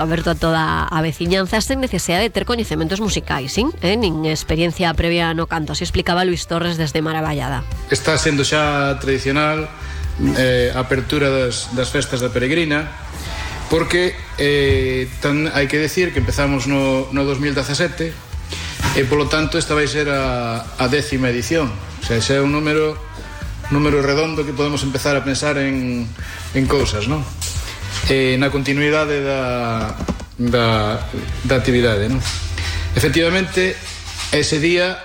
aberto a toda a veciñanza sen necesidade de ter coñecementos musicais, nin experiencia previa no canto, así explicaba Luis Torres desde Maravallada. Está sendo xa tradicional a apertura das festas da Peregrina, porque hai que decir que empezamos no 2017 e polo tanto esta vai ser a 10ª edición, o sea, xa é un número redondo que podemos empezar a pensar en cousas, non? Na continuidade da actividade, non? Efectivamente, ese día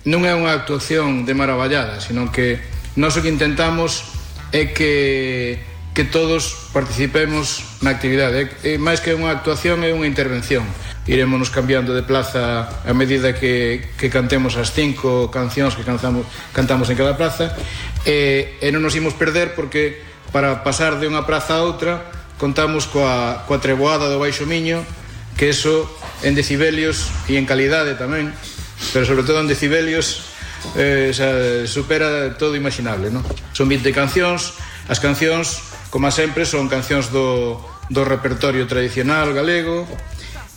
non é unha actuación de Maravallada, sino que nós o que intentamos é que todos participemos na actividade. Máis que unha actuación, é unha intervención. Irémonos cambiando de plaza a medida que cantemos as 5 cancións que cantamos en cada plaza, e non nos imos perder, porque para pasar de unha praza a outra contamos coa treboada do Baixo Miño, que eso en decibelios e en calidade tamén, pero sobre todo en decibelios supera todo imaginable, non? Son 20 cancións. As cancións, como sempre, son cancións do repertorio tradicional galego,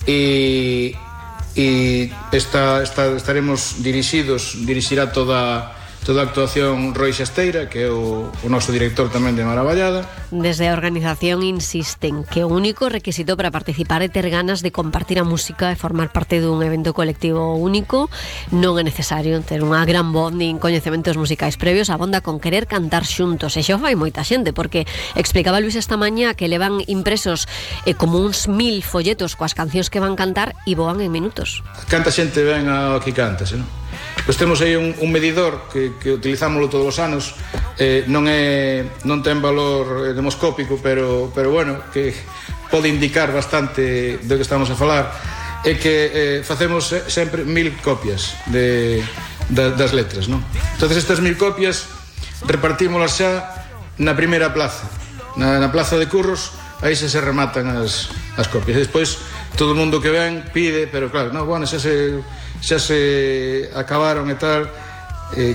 e estaremos dirixirá toda a actuación Roi Xasteira, que é o noso director tamén de Maravallada. Desde a organización insisten que o único requisito para participar é ter ganas de compartir a música e formar parte dun evento colectivo único. Non é necesario ter unha gran voz nin coñecementos musicais previos, abonda con querer cantar xuntos, e xa fai moita xente, porque explicaba Luis esta mañá que levan impresos como uns 1000 folletos coas cancións que van cantar e voan en minutos. Canta xente ben ao que cantase, non? Pois temos aí un medidor que utilizámoslo todos os anos, non ten valor demoscópico, pero bueno, que pode indicar bastante do que estamos a falar, é que facemos sempre 1000 copias das letras, non? Entonces estas 1000 copias repartímolas xa na primeira plaza, na plaza de Curros, aí se rematan as copias. Despois todo o mundo que ven pide, pero claro, xa se acabaron e tal,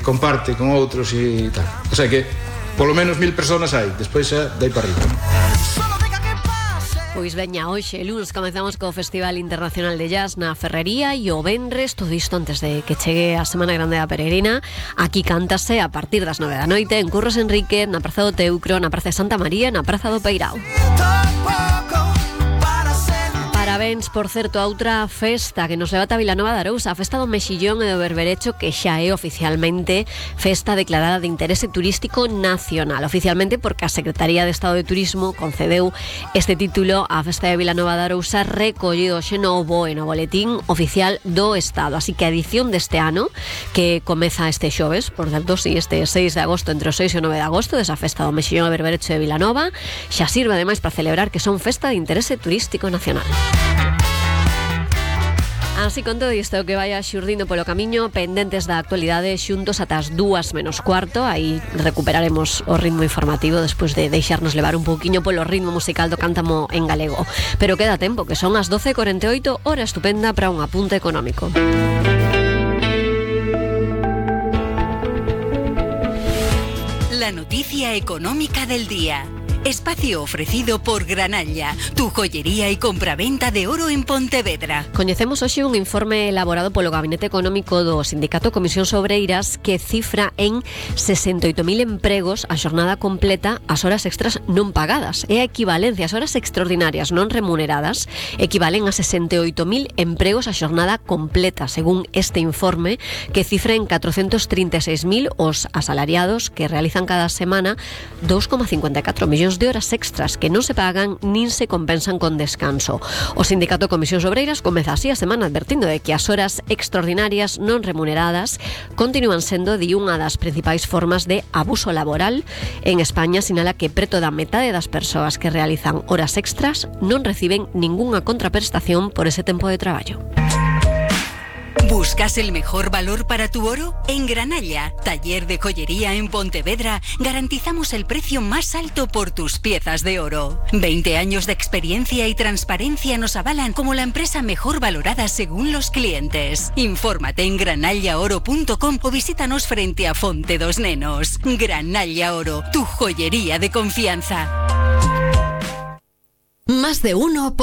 comparte con outros e tal. O sea que polo menos 1000 personas hai, despois xa dai para arriba. Pois veña, hoxe, lunes, comezamos co Festival Internacional de Jazz na Ferrería, e o venres, todo isto antes de que chegue a Semana Grande da Peregrina. Aquí cántase a partir das 9 da noite en Curros Enrique, na Praza do Teucro, na Praza de Santa María e na Praza do Peirao. Parabéns, por certo, a outra festa que nos leva a Vilanova de Arousa, a festa do Mexillón e do Berberecho, que xa é oficialmente festa declarada de interese turístico nacional. Oficialmente porque a Secretaría de Estado de Turismo concedeu este título á festa de Vilanova de Arousa, recollido xe no BOE, no Boletín Oficial do Estado. Así que a edición deste ano, que comeza este xoves, por certo, si este 6 de agosto, entre o 6 e o 9 de agosto, desa festa do Mexillón e Berberecho de Vilanova, xa sirve ademais para celebrar que son festa de interese turístico nacional. Así, con todo isto que vaya xurdindo polo camiño, pendentes da actualidade, xuntos ata as 2:45, aí recuperaremos o ritmo informativo despois de deixarnos levar un pouquiño polo ritmo musical do cántamo en galego. Pero queda tempo, que son as 12:48, hora estupenda para un apunte económico. La noticia económica del día. Espacio ofrecido por Granalla, tu joyería y compraventa de oro en Pontevedra. Coñecemos hoxe un informe elaborado polo Gabinete Económico do Sindicato Comisións Obreiras que cifra en 68.000 empregos a xornada completa, as horas extras non pagadas. É a equivalencia, as horas extraordinarias non remuneradas equivalen a 68.000 empregos a xornada completa, según este informe, que cifra en 436.000 os asalariados que realizan cada semana 2,54 millóns de horas extras que non se pagan nin se compensan con descanso. O Sindicato Comisións Obreiras comeza así a semana advertindo de que as horas extraordinarias non remuneradas continúan sendo de unha das principais formas de abuso laboral. En España sinala que preto da metade das persoas que realizan horas extras non reciben ningunha contraprestación por ese tempo de traballo. ¿Buscas el mejor valor para tu oro? En Granalla, taller de joyería en Pontevedra, garantizamos el precio más alto por tus piezas de oro. 20 años de experiencia y transparencia nos avalan como la empresa mejor valorada según los clientes. Infórmate en granallaoro.com o visítanos frente a Fonte dos Nenos. Granalla Oro, tu joyería de confianza. Más de uno.